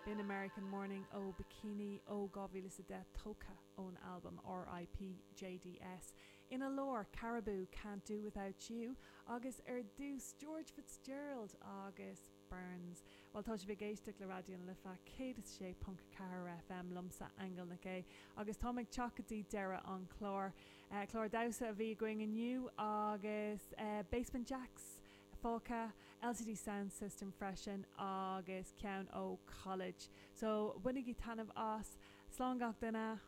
B'in American Morning ó Bikini ó 2010 tógtha ón albam RIP JDS. Ina lár, Caribou, Can't Do Without You agus ar dtús George Fitzgerald agus Burns. Bhuel, tá sibh ag éisteacht le Raidió na Life 106.4 FM liomsa, Aingeal Nic Aoidh, agus táim ag teacht go dtí deireadh an chláir. Clár damhsa a bhí againn inniu agus Basement Jaxx fágtha, LCD Soundsystem freisin agus ceann ó College. So, bainigí taitneamh as. Slán gach duine!